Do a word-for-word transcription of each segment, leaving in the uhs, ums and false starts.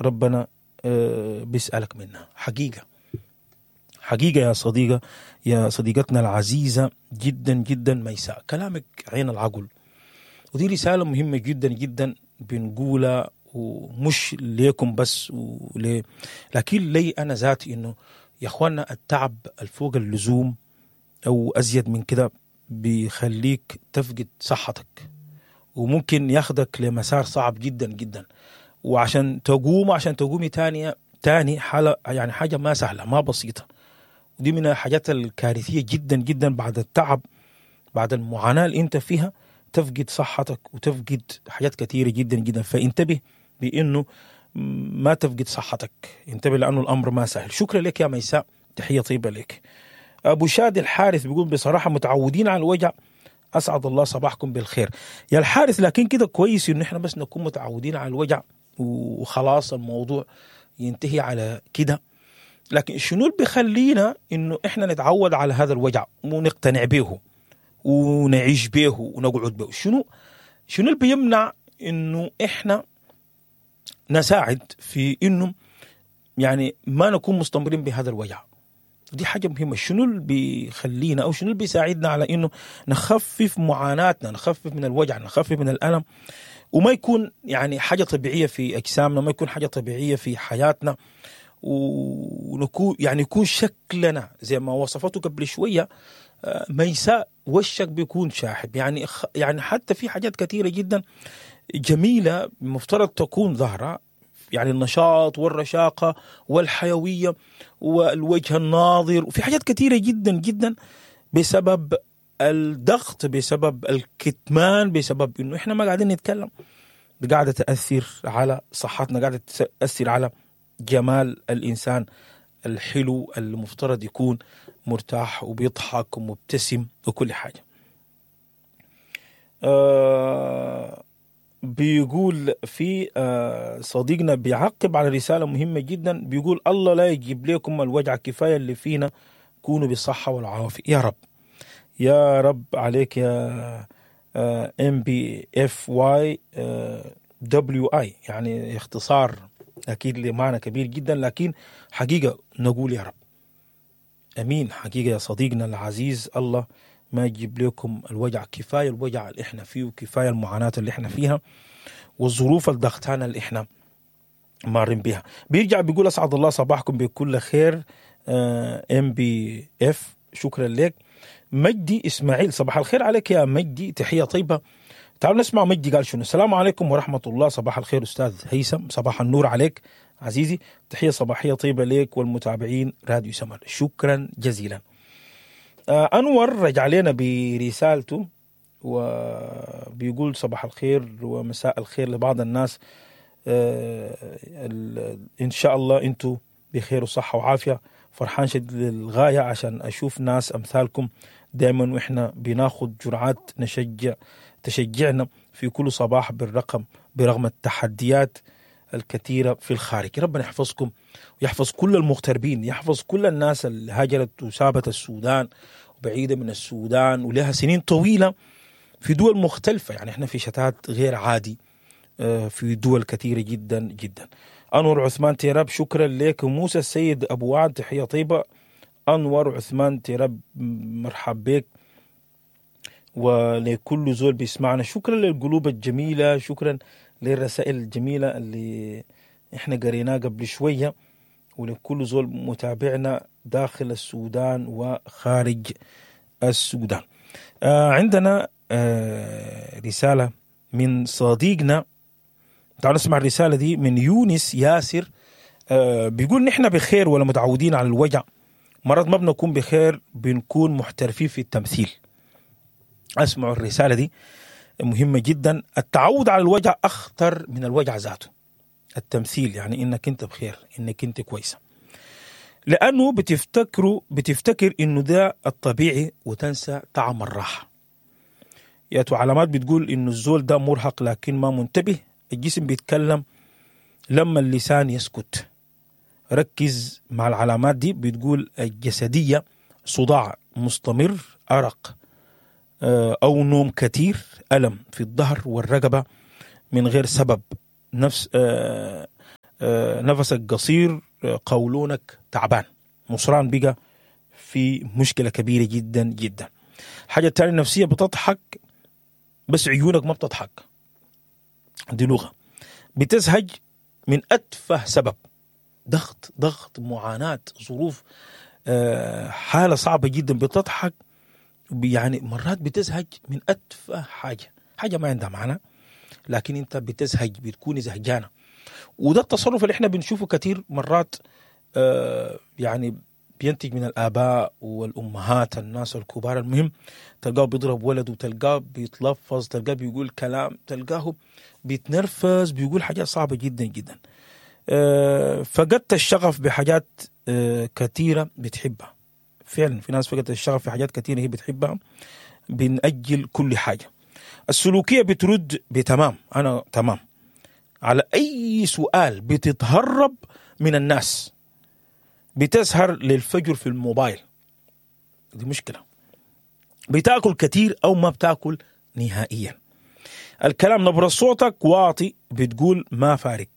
ربنا آه، بيسألك منها. حقيقة حقيقة يا صديقة، يا صديقتنا العزيزة جدا جدا ميساء، كلامك عين العقل، ودي رسالة مهمة جدا جدا بنقولها، ومش ليكم بس ولي، لكن لي أنا ذاتي، إنه يا إخوانا التعب الفوق اللزوم أو أزيد من كده بيخليك تفقد صحتك، وممكن ياخدك لمسار صعب جدا جدا، وعشان تقوم عشان تقومي تاني تاني حالة، يعني حاجة ما سهلة، ما بسيطة. ودي من الحاجات الكارثية جدا جدا، بعد التعب، بعد المعاناة اللي انت فيها، تفقد صحتك وتفقد حاجات كثيرة جدا جدا. فانتبه بانه ما تفقد صحتك، انتبه لانه الامر ما سهل. شكرا لك يا ميساء، تحية طيبة لك. ابو شادي الحارث بيقول بصراحة متعودين على الوجع، اسعد الله صباحكم بالخير يا الحارث. لكن كده كويس انه احنا بس نكون متعودين على الوجع وخلاص الموضوع ينتهي على كده، لكن شنو اللي بيخلينا انه احنا نتعود على هذا الوجع ونقتنع به ونعيش به ونقعد به؟ شنو شنو اللي بيمنع انه احنا نساعد في انه يعني ما نكون مستمرين بهذا الوجع؟ دي حاجة مهمة. شنو اللي بيخلينا أو شنو اللي بيساعدنا على إنه نخفف معاناتنا، نخفف من الوجع، نخفف من الألم، وما يكون يعني حاجة طبيعية في أجسامنا، ما يكون حاجة طبيعية في حياتنا، ونكون يعني يكون شكلنا زي ما وصفته قبل شوية آه، ميساء، وشك بيكون شاحب. يعني يعني حتى في حاجات كثيرة جدا جميلة مفترض تكون ظاهرة، يعني النشاط والرشاقة والحيوية والوجه الناظر، وفي حاجات كثيرة جدا جدا بسبب الضغط، بسبب الكتمان، بسبب انه احنا ما قاعدين نتكلم، قاعدة تأثر على صحتنا، قاعدة تأثر على جمال الإنسان الحلو المفترض يكون مرتاح وبيضحك ومبتسم وكل حاجة. آه بيقول في آه صديقنا بيعقب على رسالة مهمة جدا، بيقول الله لا يجيب لكم الوجع، كفاية اللي فينا، كونوا بالصحة والعافية يا رب. يا رب عليك يا ام بي اف واي دبليو اي، يعني اختصار اكيد لمعنى كبير جدا، لكن حقيقة نقول يا رب امين. حقيقة يا صديقنا العزيز، الله ما يجيب لكم الوجع، كفاية الوجع اللي احنا فيه، وكفاية المعاناة اللي احنا فيها، والظروف الضغطانه اللي احنا مارين بها. بيرجع بيقول اسعد الله صباحكم بكل خير ام بي اف، شكرا لك. مجدي اسماعيل، صباح الخير عليك يا مجدي، تحية طيبة. تعالوا نسمع مجدي قال شنو. السلام عليكم ورحمة الله، صباح الخير استاذ هيثم. صباح النور عليك عزيزي، تحية صباحية طيبة لك والمتابعين راديو سمر، شكرا جزيلا. آه انور رجع لنا برسالته وبيقول صباح الخير ومساء الخير لبعض الناس، آه ان شاء الله انتم بخير وصحة وعافيه. فرحان شديد للغاية عشان اشوف ناس امثالكم دائما واحنا بناخد جرعات نشجع تشجعنا في كل صباح بالرقم برغم التحديات الكثيرة في الخارج. ربنا يحفظكم ويحفظ كل المغتربين، يحفظ كل الناس اللي هاجرت وسابت السودان وبعيدة من السودان ولها سنين طويلة في دول مختلفة. يعني احنا في شتات غير عادي آه، في دول كثيرة جدا جدا. أنور عثمان تيراب، شكرا لك. موسى السيد أبو وعد، تحية طيبة. أنور عثمان تيراب، مرحب بك ولكل زول بيسمعنا. شكرا للقلوب الجميلة، شكرا للرسائل الجميلة اللي احنا قريناها قبل شوية، ولكل زول متابعنا داخل السودان وخارج السودان. آه عندنا آه رسالة من صديقنا، تعالوا نسمع الرسالة دي من يونس ياسر. آه بيقول نحن بخير ولا متعودين على الوجع، مرات ما بنكون بخير، بنكون محترفين في التمثيل. اسمعوا الرسالة دي مهمة جدا. التعود على الوجع أخطر من الوجع ذاته. التمثيل يعني إنك أنت بخير، إنك أنت كويسة، لأنه بتفتكروا بتفتكر إنه ده الطبيعي وتنسى طعم الراحة. ياتو علامات بتقول إنه الزول ده مرهق لكن ما منتبه؟ الجسم بيتكلم لما اللسان يسكت. ركز مع العلامات دي، بتقول الجسدية: صداع مستمر، أرق آه، أو نوم كثير، ألم في الظهر والرقبة من غير سبب، نفس آه، آه، نفسك قصير، آه، قولونك تعبان، مصران بقى في مشكلة كبيرة جدا جدا. الحاجة الثانية النفسية، بتضحك بس عيونك ما بتضحك، دي لغة. بتزهج من اتفه سبب، ضغط ضغط معاناة، ظروف، آه، حاله صعبة جدا، بتضحك يعني مرات بتزهج من اتفه حاجة، حاجة ما عندها معنى، لكن انت بتزهج، بتكوني زهجانه. وده التصرف اللي احنا بنشوفه كثير مرات، آه، يعني بينتج من الاباء والامهات، الناس الكبار. المهم تلقاه بيضرب ولده، تلقاه بيتلفظ، تلقاه بيقول كلام، تلقاه بيتنرفز، بيقول حاجات صعبة جدا جدا. آه، فقدت الشغف بحاجات آه، كثيرة بتحبها. فعلا في ناس فقدت الشغف في حاجات كثيرة هي بتحبها، بنأجل كل حاجة. السلوكية بترد بتمام، انا تمام على اي سؤال، بتتهرب من الناس، بتسهر للفجر في الموبايل، دي مشكلة. بتاكل كثير او ما بتاكل نهائيا. الكلام نبرة صوتك واطي، بتقول ما فارق،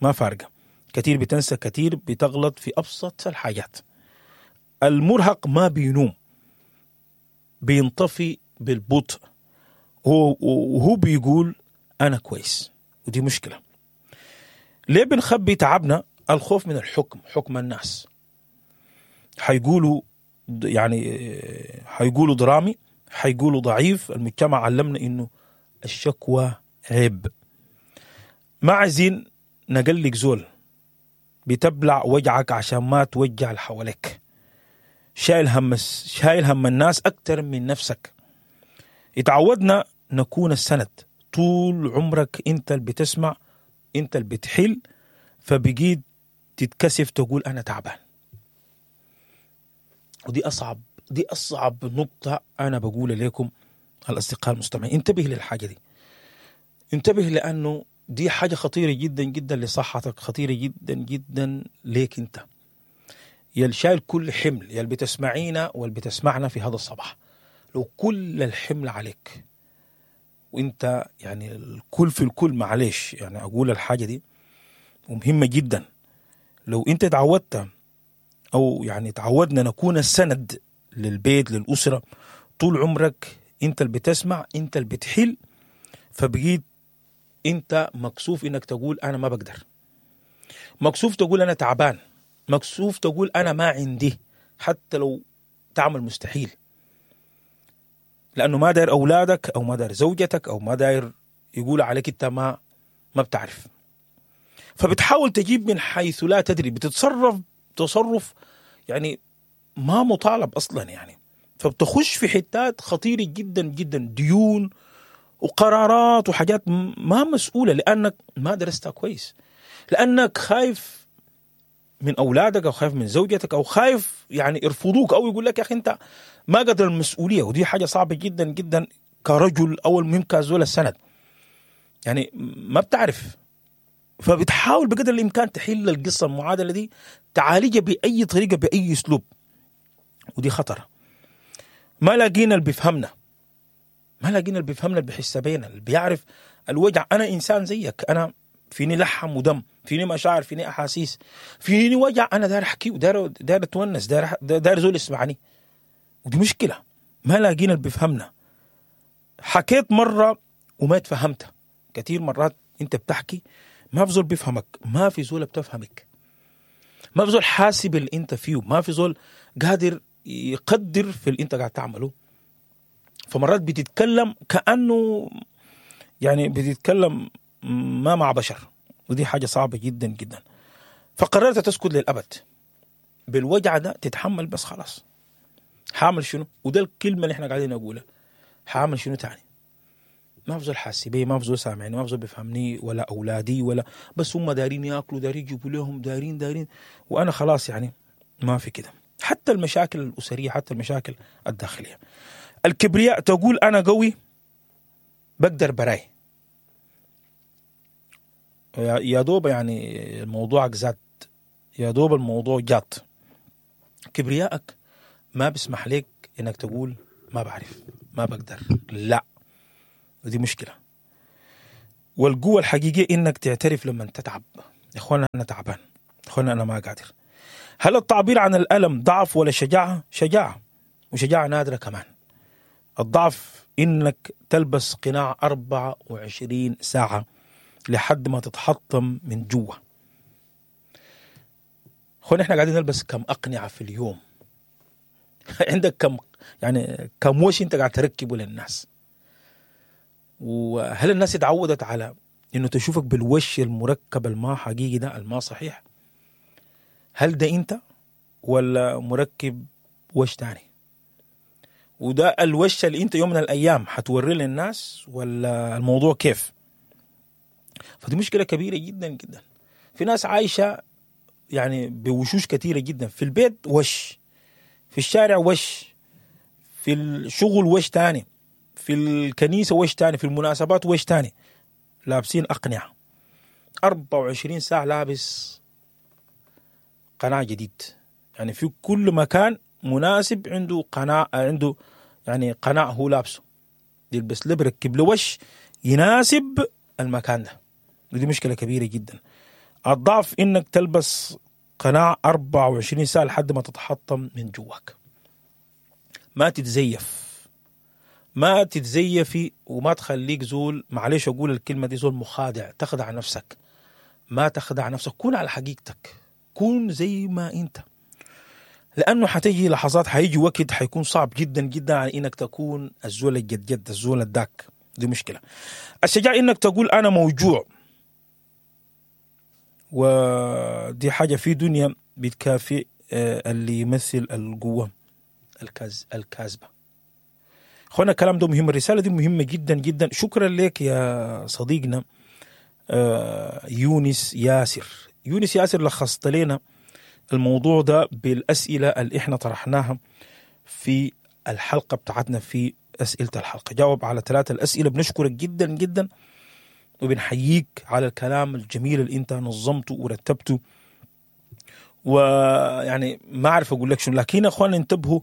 ما فارقة. كثير بتنسى كثير، بتغلط في ابسط الحاجات. المرهق ما بينوم، بينطفي بالبطء، هو وهو بيقول انا كويس، ودي مشكلة. ليه بنخبي تعبنا؟ الخوف من الحكم، حكم الناس. حيقولوا يعني حيقولوا درامي، حيقولوا ضعيف. المجتمع علمنا انه الشكوى عيب. ما عايزين نقلق زول، بتبلع وجعك عشان ما توجع اللي حواليك. شايل هم شايل هم الناس اكثر من نفسك. اتعودنا نكون السند طول عمرك، انت اللي بتسمع، انت اللي بتحل، فبقيت تتكسف تقول انا تعبان. ودي اصعب دي اصعب نقطة انا بقول لكم الاصدقاء المستمعين، انتبه للحاجة دي، انتبه، لانه دي حاجة خطيرة جدا جدا لصحتك، خطيرة جدا جدا ليك انت يا اللي شايل كل حمل، يا اللي بتسمعينا واللي بتسمعنا في هذا الصباح. لو كل الحمل عليك وانت يعني الكل في الكل، معلش يعني اقول الحاجة دي ومهمة جدا، لو انت تعودت او يعني تعودنا نكون السند للبيت للاسرة طول عمرك، انت اللي بتسمع، انت اللي بتحل، فبقيت انت مكسوف انك تقول انا ما بقدر، مكسوف تقول انا تعبان، مكسوف تقول انا ما عندي، حتى لو تعمل مستحيل، لانه ما داير اولادك او ما داير زوجتك او ما داير يقول عليك انت ما ما بتعرف. فبتحاول تجيب من حيث لا تدري، بتتصرف تصرف يعني ما مطالب اصلا يعني، فبتخش في حتات خطيرة جدا جدا، ديون وقرارات وحاجات ما مسؤولة، لانك ما درستها كويس، لانك خايف من اولادك او خايف من زوجتك او خايف يعني يرفضوك او يقول لك يا اخي انت ما قدر المسؤولية. ودي حاجة صعبة جدا جدا كرجل او المهم كزول السند، يعني ما بتعرف، فبتحاول بقدر الامكان تحل القصة المعادلة دي، تعالجها باي طريقه باي اسلوب، ودي خطره. ما لاقينا اللي بيفهمنا، ما لاقينا اللي بيفهمنا، اللي بيحس بينا، اللي بيعرف الوجع. انا انسان زيك، انا فيني لحم ودم، فيني مشاعر، فيني احاسيس، فيني وجع، انا داير احكي وداير داير اتونس، داير داير زول يسمعني، ودي مشكلة. ما لاقينا اللي بيفهمنا. حكيت مرة وما اتفهمت، كثير مرات انت بتحكي ما في زول بيفهمك، ما في زول بتفهمك، ما في زول حاسب اللي انت فيه، ما في زول قادر يقدر في اللي انت قاعد تعمله. فمرات بتتكلم كأنه يعني بتتكلم ما مع بشر، ودي حاجة صعبة جدا جدا. فقررت تسكت للأبد بالوجع ده، تتحمل بس خلاص. حامل شنو؟ وده الكلمة اللي احنا قاعدين نقولها، حامل شنو تاني؟ ما في زول حاسس بي، ما في زول سامعني، ما في زول بيفهمني، ولا أولادي ولا، بس هم دارين ياكلوا، دارين يجيبوا لهم، دارين دارين، وأنا خلاص يعني ما في كده. حتى المشاكل الأسرية، حتى المشاكل الداخلية. الكبرياء تقول أنا قوي بقدر براي، يا دوب يعني الموضوع زاد، يا دوب الموضوع جات. كبريائك ما بيسمح لك انك تقول ما بعرف، ما بقدر، لا، ودي مشكلة. والقوة الحقيقية انك تعترف لما تتعب. يا اخوانا انا تعبان، يا اخوانا انا ما قادر. هل التعبير عن الالم ضعف ولا شجاعة؟ شجاعة، وشجاعة نادرة كمان. الضعف انك تلبس قناع أربعة وعشرين ساعة لحد ما تتحطم من جوا. اخوانا احنا قاعدين نلبس كم اقنعه في اليوم؟ عندك كم يعني كم وش انت قاعد تركبه للناس؟ وهل الناس اتعودت على انه تشوفك بالوش المركب الما حقيقي ده، الما صحيح؟ هل ده انت ولا مركب وش تاني؟ وده الوش اللي انت يوم من الايام حتوريه للناس ولا الموضوع كيف؟ فدي مشكلة كبيرة جدا جدا. في ناس عايشه يعني بوشوش كثيرة جدا، في البيت وش، في الشارع وش، في الشغل وش تاني، في الكنيسة وش تاني، في المناسبات وش تاني، لابسين اقنعه أربعة وعشرين ساعة، لابس قناع جديد. يعني في كل مكان مناسب عنده قناع، عنده يعني قناع هو لابسه، يلبس له بركب له وش يناسب المكان ده. ودي مشكلة كبيرة جدا. الضعف انك تلبس قناع أربعة وعشرين ساعة لحد ما تتحطم من جواك. ما تتزيف، ما تتزيفي، وما تخليك زول، معلش اقول الكلمة دي، زول مخادع، تخدع نفسك. ما تخدع نفسك، كون على حقيقتك، كون زي ما انت، لانه حتيجي لحظات، حيجي وقت حيكون صعب جدا جدا على انك تكون الزول الجد جد، الزول الداك. دي مشكلة. الشجاعة انك تقول انا موجوع، ودي حاجة في دنيا بتكافئ اللي يمثل القوة الكاز الكاذبة. اخوانا الكلام ده مهم، الرسالة دي مهمة جدا جدا. شكرا لك يا صديقنا يونس ياسر. يونس ياسر لخصت لنا الموضوع ده بالأسئلة اللي احنا طرحناها في الحلقة بتاعتنا، في أسئلة الحلقة جاوب على ثلاثة الأسئلة. بنشكرك جدا جدا وبنحييك على الكلام الجميل اللي انت نظمته ورتبته، ويعني ما أعرف أقول لك شنو، لكن أخوانا انتبهوا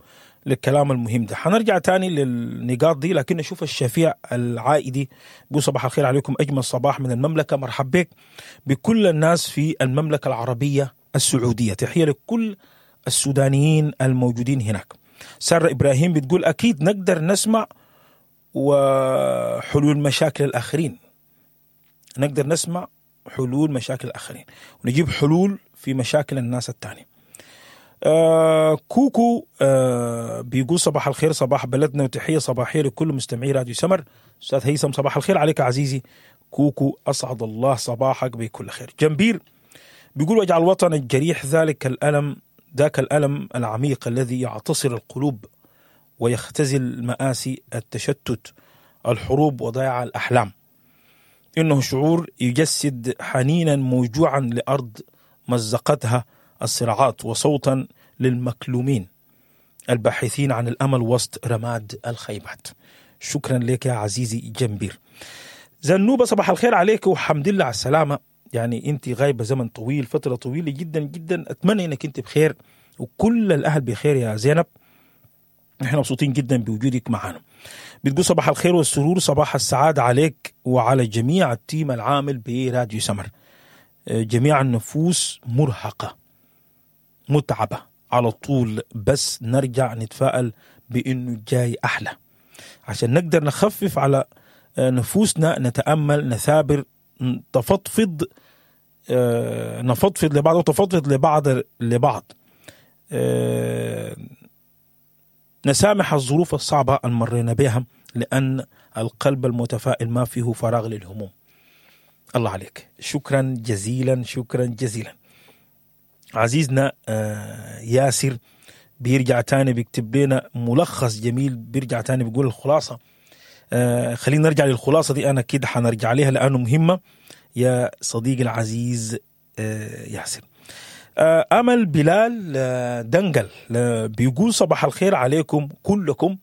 للكلام المهم ده. حنرجع تاني للنقاط دي، لكن نشوف الشفيع العائدي بيقول صباح الخير عليكم، أجمل صباح من المملكة، مرحب بك بكل الناس في المملكة العربية السعودية، تحية لكل السودانيين الموجودين هناك. سارة إبراهيم بتقول أكيد نقدر نسمع وحلول مشاكل الآخرين، نقدر نسمع حلول مشاكل الآخرين ونجيب حلول في مشاكل الناس التانية. آه كوكو آه بيقول صباح الخير، صباح بلدنا، وتحية صباحية لكل مستمعي راديو سمر. أستاذ هيثم صباح الخير عليك عزيزي كوكو، أسعد الله صباحك بكل خير. جنبير بيقول وجع الوطن الجريح، ذلك الألم، ذاك الألم العميق الذي يعتصر القلوب ويختزل مآسي التشتت، الحروب وضياع الأحلام. إنه شعور يجسد حنينا موجوعا لأرض مزقتها الصراعات، وصوتا للمكلومين الباحثين عن الأمل وسط رماد الخيبات. شكرا لك يا عزيزي جنبير. زنوبة صباح الخير عليك وحمد لله على السلامة. يعني انت غايبة زمن طويل، فترة طويلة جدا جدا، أتمنى انك انت بخير وكل الأهل بخير يا زينب، احنا مبسوطين جدا بوجودك معنا. بتقول صباح الخير والسرور، صباح السعادة عليك وعلى جميع ال team العامل براديو سمر. جميع النفوس مرهقة متعبة على طول، بس نرجع نتفائل بأنه جاي أحلى عشان نقدر نخفف على نفوسنا، نتأمل، نثابر، تفضفض، نفضفض لبعض وتفضفض لبعض لبعض، نسامح الظروف الصعبة اللي مرينا بها، لأن القلب المتفائل ما فيه فراغ للهموم. الله عليك، شكرا جزيلا، شكرا جزيلا عزيزنا ياسر. بيرجع تاني بيكتب لنا ملخص جميل، بيرجع تاني بيقول الخلاصة. خلينا نرجع للخلاصة دي، أنا كده حنرجع لها لأنه مهمة يا صديقي العزيز ياسر. أمل بلال دنجل بيقول صباح الخير عليكم كلكم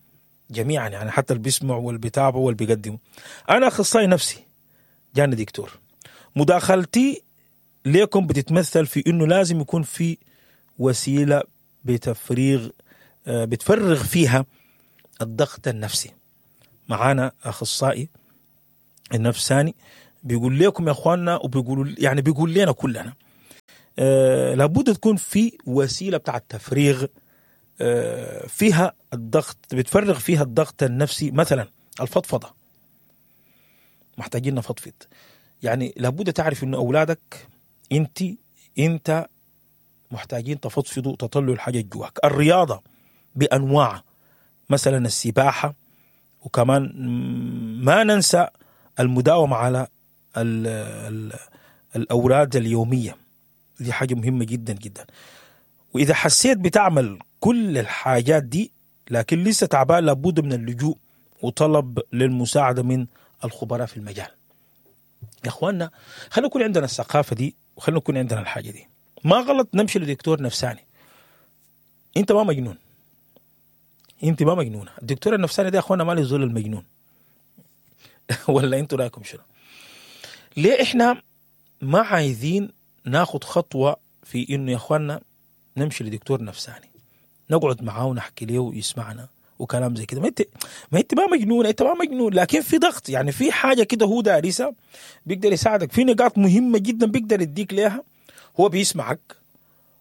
جميعا، يعني حتى اللي بيسمعوا واللي بيتابعوا واللي بيقدموا. أنا أخصائي نفسي جاني دكتور، مداخلتي ليكم بتتمثل في إنه لازم يكون في وسيلة بتفريغ بتفرغ فيها الضغط النفسي. معانا أخصائي النفساني بيقول لكم يا اخواننا، وبيقولوا يعني بيقول لنا كلنا آه لابد تكون في وسيلة بتاعت تفريغ آه فيها الضغط، بتفرغ فيها الضغط النفسي. مثلا الفضفضة، محتاجين نفضفض. يعني لابد تعرف انه اولادك انت انت محتاجين تفضفضوا، تطلعوا الحاجة جواك. الرياضة بانواعها، مثلا السباحة، وكمان ما ننسى المداومة على ال ال الاوراد اليومية، دي حاجة مهمة جدا جدا. واذا حسيت بتعمل كل الحاجات دي لكن لسه تعبان، لابد من اللجوء وطلب للمساعدة من الخبراء في المجال. يا اخواننا خلينا يكون عندنا الثقافة دي، وخلينا يكون عندنا الحاجة دي. ما غلط نمشي لدكتور نفساني، انت ما مجنون، انت ما مجنونة. الدكتور النفساني ده يا اخوانا ما له زول المجنون ولا انتوا رايكم شنو؟ ليه احنا ما عايزين ناخد خطوة في انه يا اخوانا نمشي لدكتور نفساني، نقعد معاه ونحكي له ويسمعنا وكلام زي كده؟ ما انت ما انت ما مجنون، انت ما مجنون، لكن في ضغط، يعني في حاجة كده هو دارسها بيقدر يساعدك في نقاط مهمة جدا بيقدر يديك ليها. هو بيسمعك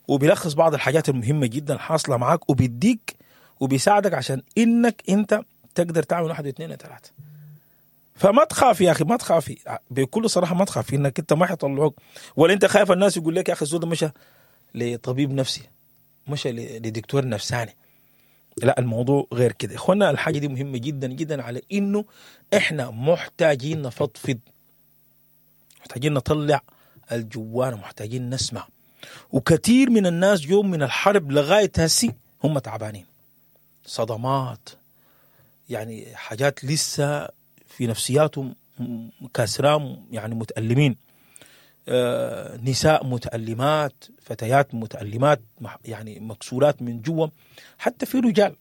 وبيلخص بعض الحاجات المهمة جدا حاصله معاك، وبيديك وبيساعدك عشان انك انت تقدر تعمل واحد واثنين وثلاثة. فما تخاف يا اخي، ما تخافي بكل صراحة، ما تخافي انك انت ما حيطلعوك، ولا انت خايف الناس يقول لك يا اخي الزول ده مشى لطبيب نفسي، مشى لدكتور نفساني. لا، الموضوع غير كده اخوانا. الحاجة دي مهمة جدا جدا، على انه احنا محتاجين نفضفض، محتاجين نطلع الجوانا، محتاجين نسمع. وكثير من الناس يوم من الحرب لغاية هسي هم تعبانين، صدمات، يعني حاجات لسه في نفسياتهم كاسرام، يعني متألمين، آه، نساء متألمات، فتيات متألمات، يعني مكسورات من جوا، حتى في رجال.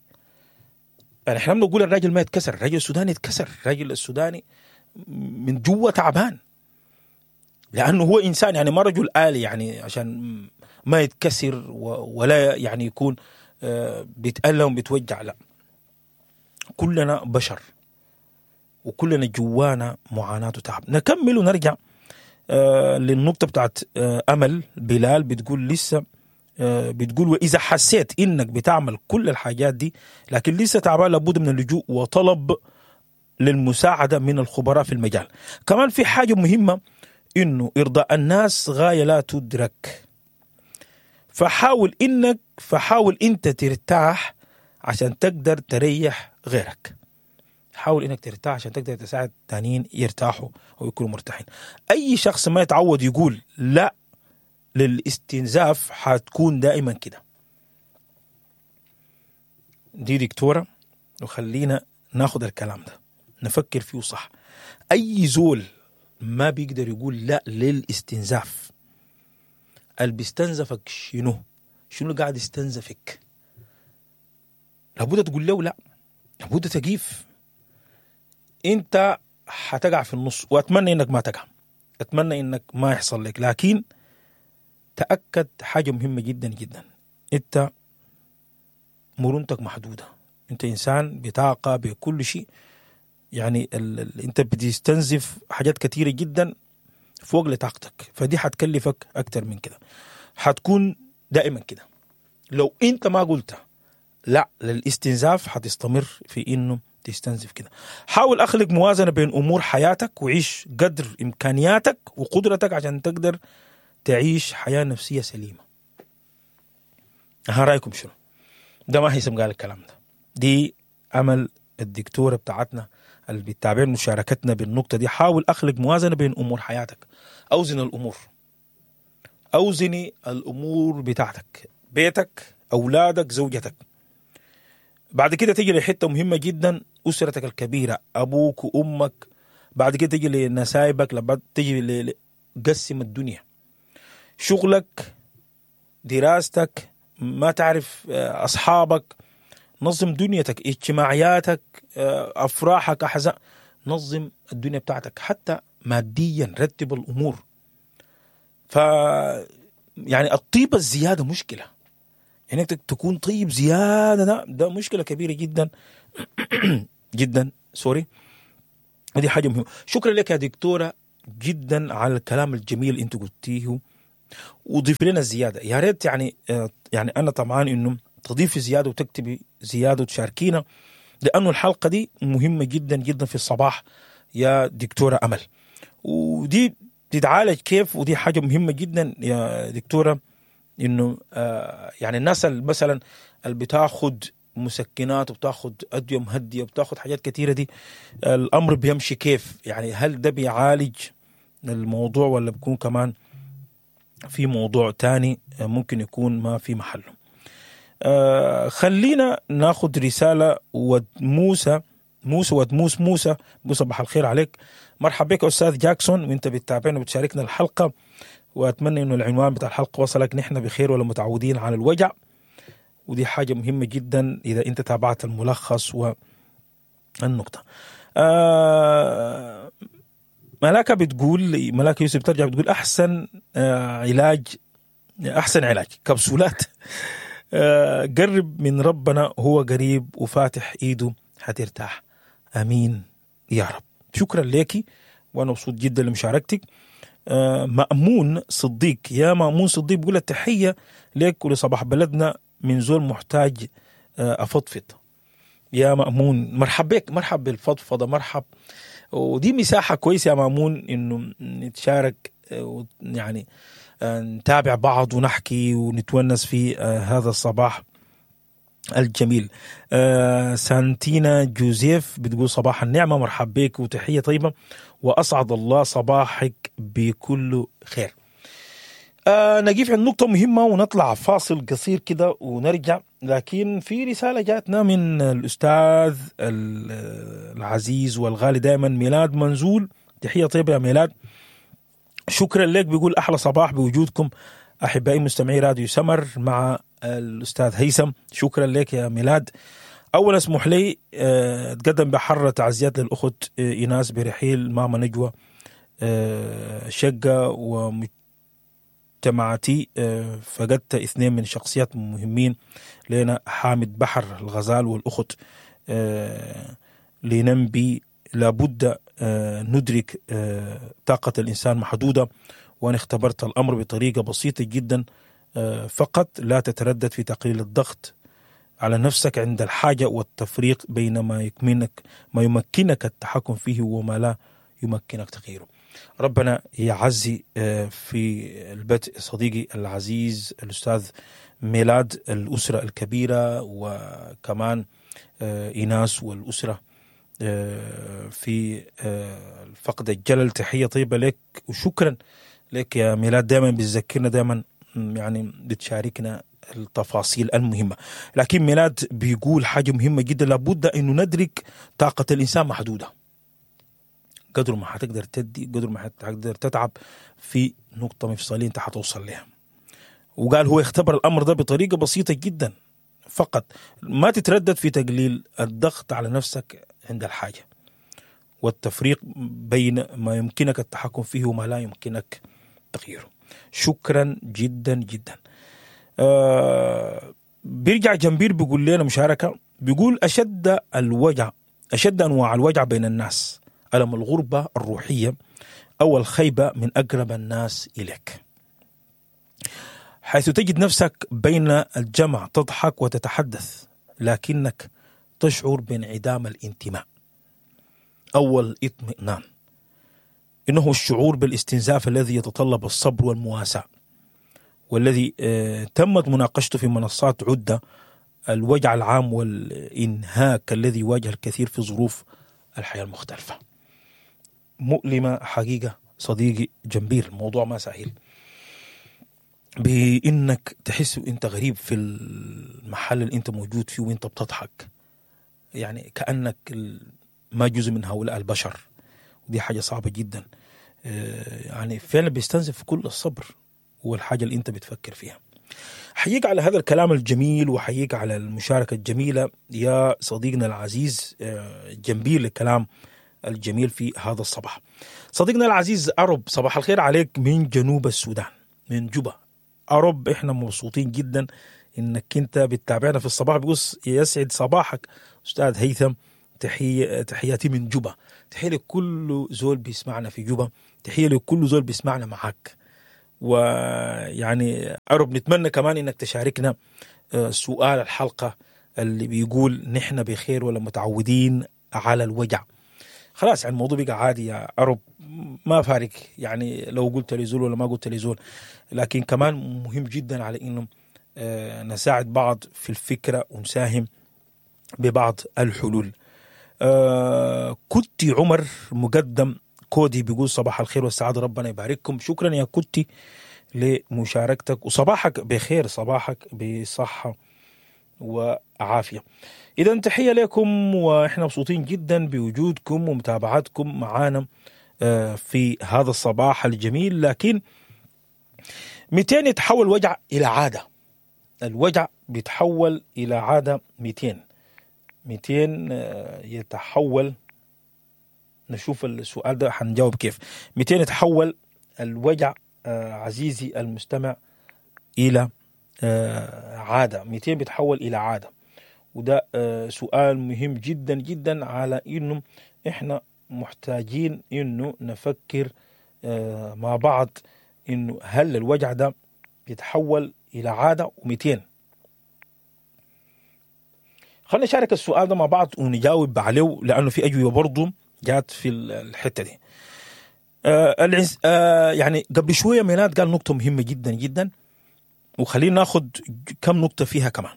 يعني احنا بنقول الراجل ما يتكسر، الراجل السوداني يتكسر، الراجل السوداني من جوا تعبان، لأنه هو إنسان، يعني ما رجل آلي، يعني عشان ما يتكسر ولا يعني يكون آه بيتألم بيتوجع. لا، كلنا بشر وكلنا جوانا معاناة وتعب. نكمل ونرجع آه للنقطة بتاعت آه أمل بلال. بتقول لسه آه بتقول وإذا حسيت إنك بتعمل كل الحاجات دي لكن لسه تعبان، لابد من اللجوء وطلب للمساعدة من الخبراء في المجال. كمان في حاجة مهمة، إنه إرضاء الناس غاية لا تدرك، فحاول إنك فحاول أنت ترتاح عشان تقدر تريح غيرك. حاول إنك ترتاح عشان تقدر تساعد تانيين يرتاحوا ويكونوا مرتاحين. أي شخص ما يتعود يقول لا للاستنزاف حتكون دائما كده. دي دكتورة، وخلينا ناخد الكلام ده نفكر فيه صح. أي زول ما بيقدر يقول لا للاستنزاف، اللي بيستنزفك شنو؟ شنو قاعد يستنزفك؟ لابد تقول له لا، لابد تقيف. انت حتقع في النص، واتمنى انك ما تقع، اتمنى انك ما يحصل لك، لكن تأكد حاجة مهمة جدا جدا، انت مرونتك محدودة، انت انسان بطاقة بكل شيء، يعني ال ال انت بتستنزف حاجات كثيرة جدا فوق لطاقتك، فدي حتكلفك اكتر من كده، حتكون دائما كده. لو انت ما قلت لا للاستنزاف حتستمر في انه تستنزف كده. حاول اخلق موازنة بين امور حياتك، وعيش قدر امكانياتك وقدرتك عشان تقدر تعيش حياة نفسية سليمة. ها رايكم شنو؟ ده ما هيثم قال الكلام ده، دي امل الدكتورة بتاعتنا اللي بتتابعنا مشاركتنا بالنقطة دي. حاول اخلق موازنة بين امور حياتك، اوزن الامور، اوزني الامور بتاعتك، بيتك، اولادك، زوجتك. بعد كده تيجي لحته مهمة جدا، اسرتك الكبيرة، ابوك وامك. بعد كده تيجي لنسايبك، لما تيجي ل... قسم الدنيا، شغلك، دراستك، ما تعرف اصحابك، نظم دنيتك، اجتماعياتك، افراحك، احزان، نظم الدنيا بتاعتك حتى ماديا، رتب الامور. ف يعني الطيبة الزيادة مشكلة، يعني انك تكون طيب زيادة ده ده مشكلة كبيرة جدا جدا، سوري. ودي حاجة مهمة. شكرا لك يا دكتورة جدا على الكلام الجميل اللي انت قلتيه، وضيف لنا زيادة يا ريت. يعني يعني انا طبعا انه تضيفي زيادة وتكتبي زيادة وتشاركينا، لانه الحلقة دي مهمة جدا جدا في الصباح يا دكتورة امل. ودي تتعالج كيف؟ ودي حاجة مهمة جدا يا دكتورة، انه آه يعني الناس مثلا اللي بتاخد مسكنات وبتاخد ادوية مهديه وبتاخد حاجات كثيرة دي، الامر بيمشي كيف؟ يعني هل ده بيعالج الموضوع ولا بيكون كمان في موضوع تاني ممكن يكون ما في محله؟ آه خلينا ناخد رسالة ود موسى موسى ود موس موسى بقول صباح الخير عليك، مرحبا بك استاذ جاكسون، وانت بتتابعنا وبتشاركنا الحلقة، واتمنى انه العنوان بتاع الحلقة وصلك. نحن بخير ولا متعودين على الوجع، ودي حاجة مهمة جدا اذا انت تابعت الملخص والنقطة. آه ملاكه بتقول، ملاكه يوسف ترجع بتقول احسن آه علاج، احسن علاج كبسولات. آه قرب من ربنا هو قريب وفاتح ايده حترتاح. امين يا رب. شكرا لك وانا مبسوط جدا لمشاركتك. آه مأمون صديق، يا مأمون صديق بيقول التحية لك ولصباح بلدنا من زول محتاج آه أفضفض. يا مأمون مرحب بك، مرحب بالفضفضة، مرحب. ودي مساحة كويسة يا مأمون إنه نتشارك آه يعني آه نتابع بعض ونحكي ونتونس في آه هذا الصباح الجميل. آه سانتينا جوزيف بتقول صباح النعمة، مرحب بك وتحية طيبة، وأسعد الله صباحك بكل خير. آه نقف عند نقطة مهمة ونطلع فاصل قصير كده ونرجع، لكن في رسالة جاتنا من الأستاذ العزيز والغالي دائما ميلاد منزول. تحية طيبة يا ميلاد، شكرا لك. بيقول أحلى صباح بوجودكم أحبائي مستمعي راديو سمر مع الأستاذ هيثم. شكرا لك يا ميلاد. أولا اسمح لي أتقدم بحرة تعزيات للأخت إيناس برحيل ماما نجوى شقة ومجتمعتي. فقدت اثنين من شخصيات مهمين لنا، حامد بحر الغزال والأخت لننبي. لابد ندرك طاقة الإنسان محدودة، وأنا اختبرت الأمر بطريقة بسيطة جدا فقط، لا تتردد في تقليل الضغط على نفسك عند الحاجة والتفريق بين ما يمكنك ما يمكنك التحكم فيه وما لا يمكنك تغييره. ربنا يعزي في البدء صديقي العزيز الأستاذ ميلاد، الأسرة الكبيرة، وكمان إيناس والأسرة في فقد الجلل. تحية طيبة لك وشكرا لك يا ميلاد، دائما بتذكرنا، دائما يعني بتشاركنا التفاصيل المهمة. لكن ميلاد بيقول حاجة مهمة جدا، لابد انه ندرك طاقة الانسان محدودة، قدر ما حتقدر تدي قدر ما حتقدر تتعب في نقطة مفصلية انت حتوصل لها. وقال هو اختبر الامر ده بطريقة بسيطة جدا فقط، ما تتردد في تقليل الضغط على نفسك عند الحاجة والتفريق بين ما يمكنك التحكم فيه وما لا يمكنك تغييره. شكرا جدا جدا. آه بيرجع جنبير بيقول لنا مشاركة، بيقول أشد الوجع، أشد أنواع الوجع بين الناس ألم الغربة الروحية أو الخيبة من أقرب الناس إليك، حيث تجد نفسك بين الجمع تضحك وتتحدث لكنك تشعر بانعدام الانتماء أو الاطمئنان. إنه الشعور بالاستنزاف الذي يتطلب الصبر والمواساة، والذي تمت مناقشته في منصات عدة، الوجع العام والإنهاك الذي يواجه الكثير في ظروف الحياة المختلفة. مؤلمة حقيقة صديقي جنبير، الموضوع ما سهل، بإنك تحس وإنت غريب في المحل اللي أنت موجود فيه وإنت بتضحك، يعني كأنك ما جزء من هؤلاء البشر، ودي حاجة صعبة جدا. يعني فعلا بيستنزف كل الصبر والحاجة اللي أنت بتفكر فيها. حييك على هذا الكلام الجميل وحييك على المشاركة الجميلة يا صديقنا العزيز جنبير، الكلام الجميل في هذا الصباح. صديقنا العزيز أرب، صباح الخير عليك من جنوب السودان، من جوبا. أرب، إحنا مبسوطين جدا إنك أنت بتتابعنا في الصباح. بيقول يسعد صباحك أستاذ هيثم، تحية تحياتي من جوبا. تحية لكل زول بيسمعنا في جوبا، تحية لكل زول بيسمعنا معاك. ويعني أرب نتمنى كمان انك تشاركنا سؤال الحلقة اللي بيقول نحن بخير ولا متعودين على الوجع. خلاص يعني الموضوع بقى عادي يا أرب، ما فارق يعني لو قلت لزول ولا ما قلت لزول، لكن كمان مهم جدا على انه نساعد بعض في الفكرة ونساهم ببعض الحلول. آه كنتي عمر مقدم كودي بيقول صباح الخير والسعادة، ربنا يبارككم. شكرا يا كنتي لمشاركتك، وصباحك بخير، صباحك بصحة وعافية. إذا تحية لكم، وإحنا مبسوطين جدا بوجودكم ومتابعتكم معانا في هذا الصباح الجميل. لكن مئتين يتحول وجع إلى عادة، الوجع بيتحول إلى عادة. مئتين مئتين يتحول، نشوف السؤال ده حنجاوب كيف. مئتين يتحول الوجع عزيزي المستمع إلى عادة، مئتين بيتحول إلى عادة. وده سؤال مهم جدا جدا على إنه إحنا محتاجين إنه نفكر مع بعض إنه هل الوجع ده بيتحول إلى عادة ومئتين. خلينا نشارك السؤال ده مع بعض ونجاوب عليه، لأنه في أجوبة برضو جات في الحتة دي. آه العز... آه يعني قبل شوية ميلاد قال نقطة مهمة جدا جدا، وخلينا ناخد كم نقطة فيها كمان.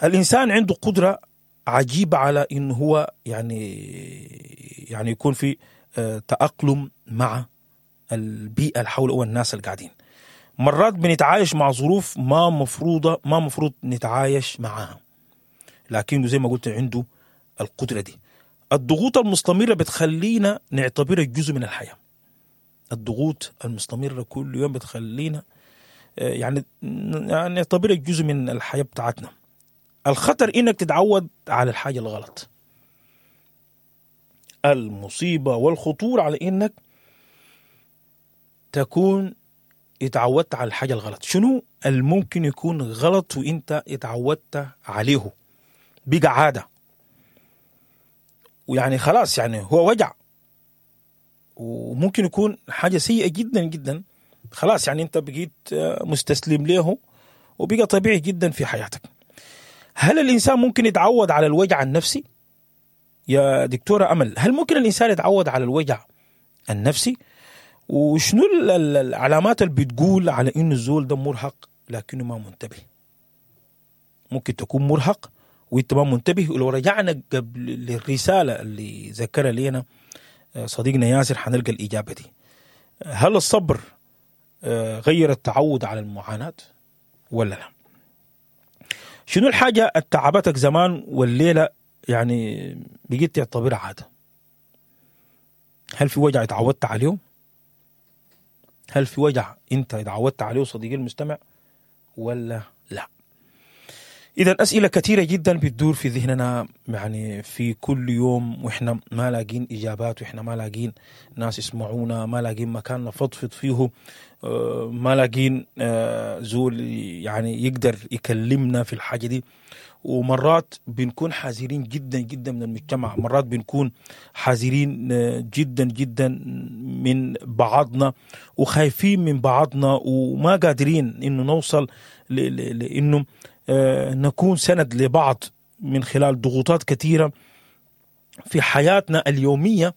الإنسان عنده قدرة عجيبة على إنه هو يعني يعني يكون في آه تأقلم مع البيئة اللي حوله والناس اللي قاعدين. مرات بنتعايش مع ظروف ما مفروضة ما مفروض نتعايش معاها، لكن زي ما قلت عنده القدرة دي. الضغوط المستمرة بتخلينا نعتبرها جزء من الحياة. الضغوط المستمرة كل يوم بتخلينا يعني نعتبرها جزء من الحياة بتاعتنا. الخطر إنك تتعود على الحاجة الغلط. المصيبة والخطورة على إنك تكون اتعودت على الحاجة الغلط. شنو الممكن يكون غلط وإنت اتعودت عليه؟ بقى عادة، ويعني خلاص يعني هو وجع، وممكن يكون حاجة سيئة جدا جدا. خلاص يعني انت بقيت مستسلم له وبقى طبيعي جدا في حياتك. هل الإنسان ممكن يتعود على الوجع النفسي؟ يا دكتورة أمل، هل ممكن الإنسان يتعود على الوجع النفسي؟ وشنو العلامات اللي بتقول على إنه الزول ده مرهق لكنه ما منتبه؟ ممكن تكون مرهق وانت ما منتبه. ولو رجعنا قبل للرسالة اللي ذكرها لنا صديقنا ياسر حنلقى الإجابة دي. هل الصبر غير التعود على المعاناة ولا لا؟ شنو الحاجة التعبتك زمان والليلة يعني بقيت تعتبرها عادة؟ هل في وجع اتعودت عليه؟ هل في وجع انت اتعودت عليه صديقي المستمع ولا لا؟ إذا أسئلة كثيرة جدا بتدور في ذهننا يعني في كل يوم، وإحنا ما لاقين إجابات، وإحنا ما لاقين ناس يسمعونا، ما لاقين مكان نفضفض فيه، ما لاقين زول يعني يقدر يكلمنا في الحاجة دي. ومرات بنكون حذرين جدا جدا من المجتمع، مرات بنكون حذرين جدا جدا من بعضنا وخايفين من بعضنا، وما قادرين إنه نوصل لإنه نكون سند لبعض من خلال ضغوطات كثيرة في حياتنا اليومية.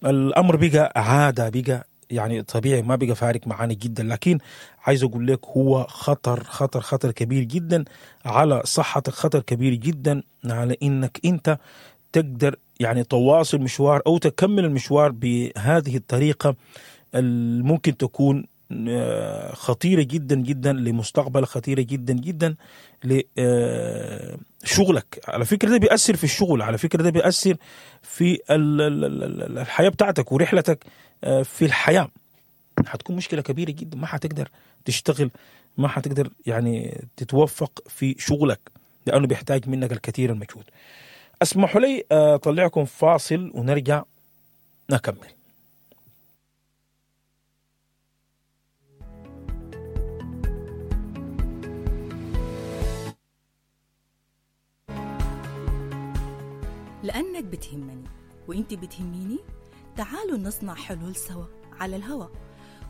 الأمر بقى عادة، بقى يعني طبيعي، ما بقى فارق معانا جدا. لكن عايز أقول لك هو خطر خطر خطر كبير جدا على صحتك، خطر كبير جدا على إنك أنت تقدر يعني تواصل مشوار أو تكمل المشوار بهذه الطريقة الممكن تكون خطيرة جدا جدا لمستقبل، خطيرة جدا جدا لشغلك. على فكرة ده بيأثر في الشغل، على فكرة ده بيأثر في الحياة بتاعتك ورحلتك في الحياة. هتكون مشكلة كبيرة جدا، ما هتقدر تشتغل، ما هتقدر يعني تتوفق في شغلك لأنه بيحتاج منك الكثير المجهود. اسمحوا لي أطلعكم فاصل ونرجع نكمل. لأنك بتهمني وإنت بتهميني. تعالوا نصنع حلول سوا على الهوا،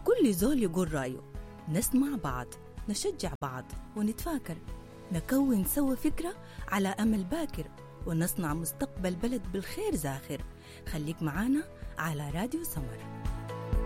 كل زول يقول رأيه، نسمع بعض، نشجع بعض ونتفاكر، نكون سوا فكرة على أمل باكر، ونصنع مستقبل بلد بالخير زاخر. خليك معانا على راديو سمر.